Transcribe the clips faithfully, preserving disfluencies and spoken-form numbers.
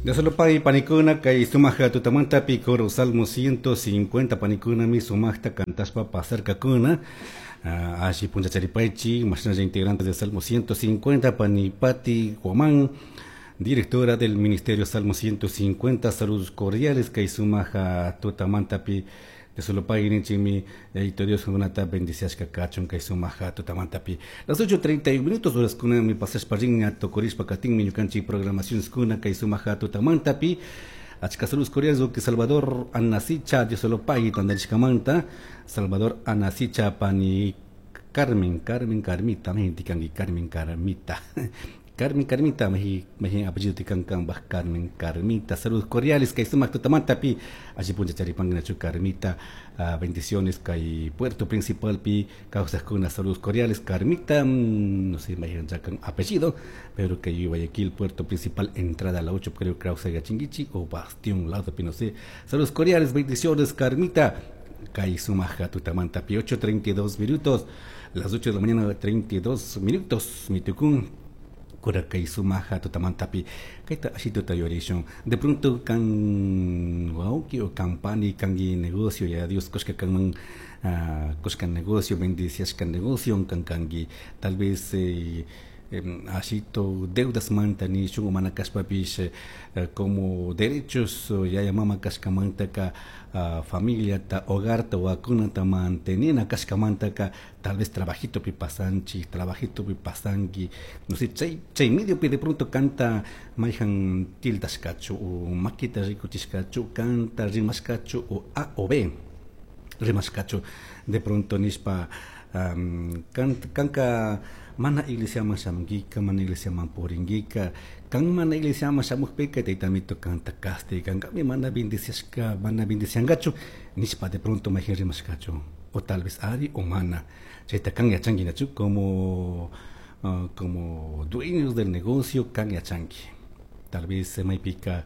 Dios panikuna kay sumaja tutamantapi coro Salmo ciento cincuenta panikunami sumajta kantashpa pasarkakuna. Uh, alli punchacharipaychik mashnalla integrantes de Salmo ciento cincuenta Panipati Guamán, directora del Ministerio Salmo ciento cincuenta, saludos cordiales kay sumaja tutamantapi de solo pagui Yayito Dios kunata bendiciashka kachun kay sumaja tutamantapi. Las ocho treinta y un minutos horas kuna mi pasashpa rinña tokorishpa katinmi ñukanchik programaciones kuna kay sumaja tutamantapi. Achka saludos cordiales que Salvador Anasicha, Dios solo pagui tandarishkamanta. Salvador Anasicha pani Carmen, Carmen Carmita, mehintikanki Carmen Carmita. Carmen Carmita, mehi mehi apellido tikankan bah Carmen Carmita. Saludos cordiales kay sumak tutamantapi. Allí puncha charipanginachu Carmita. Uh, bendiciones kay Puerto Principal pi kawsajkuna saludos cordiales Carmita, mm, no sé mahigan chakan apellido, pero que Guayaquil Puerto Principal entrada a la ocho creo que chinguichi o Bastión lado pi no sé. Saludos cordiales, bendiciones Carmita. Kay sumaja tutamantapi ocho treinta y dos minutos, las ocho de la mañana treinta y dos minutos, mitukun. Kay sumaja tutamantapi kayta ashituta yorishun de pronto kan wauki o kampani kangi negocio ya Dios koshka kanman uh, koshka negocio bendiciashka negocio kan kangi tal vez eh, eh, ashito deudas manta nishun o mana kashpapish eh, como derechos yaya mama kashkamantaka uh, familia ta hogar ta wakunata mantenena kashkamantaka tal vez trabajito pi pasanchi trabajito pi pasanki no sé chay chay medio pi de pronto canta mayhan tiltashkachu o makita rikuchishkachu canta rimashkachu o A o B rimashkachu de pronto nishpa um, kan, kanka mana iglesia man shamunkika, mana iglesia man purinkika, kan mana iglesia man shamukpika taytamito kanta castigankami mana bendiciashka, mana bendiciankachu nishpa de pronto mayhan rimashkachu o tal vez ari o mana chayta kan yachankinachu como uh, como dueños del negocio kan yachanki tal vez maypika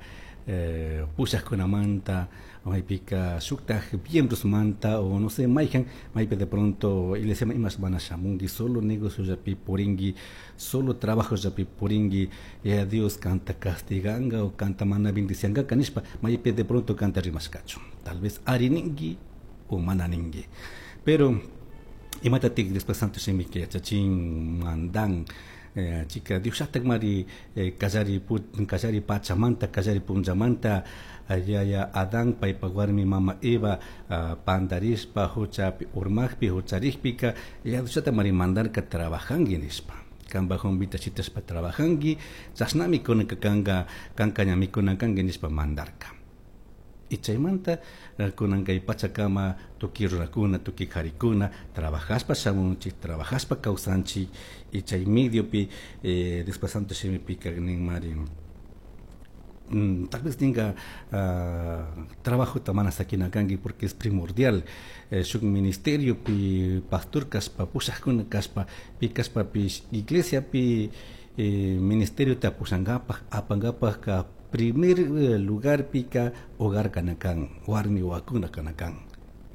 eh, pushajkunamanta maypika shuktaj miembros manta o no sé mayhan maypi de pronto iglesia imas mana shamunki solo negocio llapi purinki solo trabajo llapi purinki ya Dios kanta castiganga o kanta mana bendicianga kanishpa maypi de pronto kanta rimashkachu tal vez ari ninki o mana ninki pero imatatik después santo shimiki yachachin mandan Eh, chica Dios mari eh, kallari kallari pachamanta kallari punllamanta yaya Adán paypa warmi mama Eva uh, pandarishpa huchapi urmakpi hucharikpika ya Dios mari mandarka trabajanki nishpa kanpa humpita shitashpa trabajanki chashnami kunanka kanka kanka ñami kunankanki nishpa mandarka. Y chaymanta kunan kay pachakama tukuy runakuna tukuy qarikuna trabajashpa shamunchik trabajashpa kawsanchik y chay mediopi eh, después santo shimipika nin mari mm, tal vez ninga uh, trabajo mana sakina kanki porque es primordial eh, shuk ministerio pi pastor kashpa pushajkuna kashpa pi kashpa pi iglesia pi eh, ministerio ta pushankapaj apankapaj ka primer lugar pica hogar kanakan warmi wakuna kanakan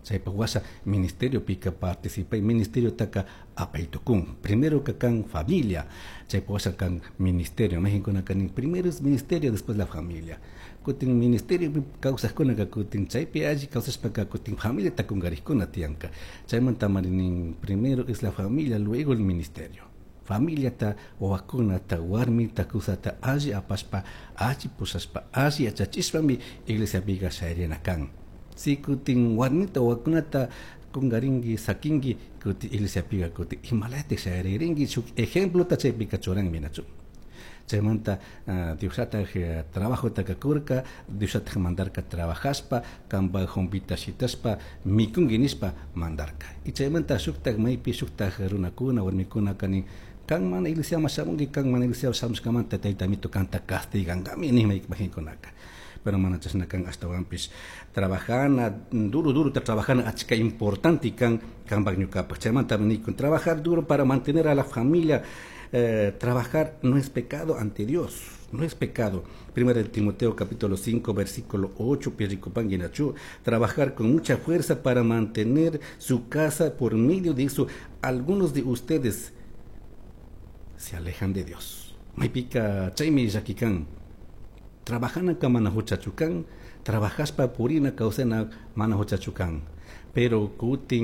chaypa washa ministerio pica participa ministerio taka apaytukun primero kakan familia chaypa washa kan ministerio México kanin primero es ministerio después la familia kutin ministerio kawsajkuna ka kutin chaypi alli kawsashpaka kutin familia takunkarikuna tiyanka chaymanta marinin primero es la familia luego el ministerio familia ta wawakunata warmita kusata alli apashpa alli pushashpa alli yachachishpami iglesiapiqa shayrina kan si kutin warmita wawakunata kunkarinki sakinki kutin iglesiapiqa kutin imalatik shayaririnki shuk ejemplota chaypika churanmi nachu chaymanta uh, Diosllataj uh, trabajota kakurka Diosllataj mandarka trabajashpa kanpa humpita shitashpa mikunki nishpa mandarka y chaymanta shuktaj maypi shuktaj runakuna warmikuna kanin kan mana iglesia shamunki kan mana iglesia shamushkamanta taytamito kanta castigankami nishma mahinkunaka pero mana chashna kan ashtawanpish trabajana duro duro ta trabajana achka importante kan kanpak ñukapak chaymanta nikun trabajar duro para mantener a la familia. Eh, trabajar no es pecado ante Dios, no es pecado. Primera de Timoteo capítulo cinco versículo ocho, trabajar con mucha fuerza para mantener su casa por medio de eso. Algunos de ustedes se alejan de Dios. Maypika chaymi llakikan. Trabajanaka mana huchachu kan, trabajashpa purina kawsana mana huchachu kan. Pero kutin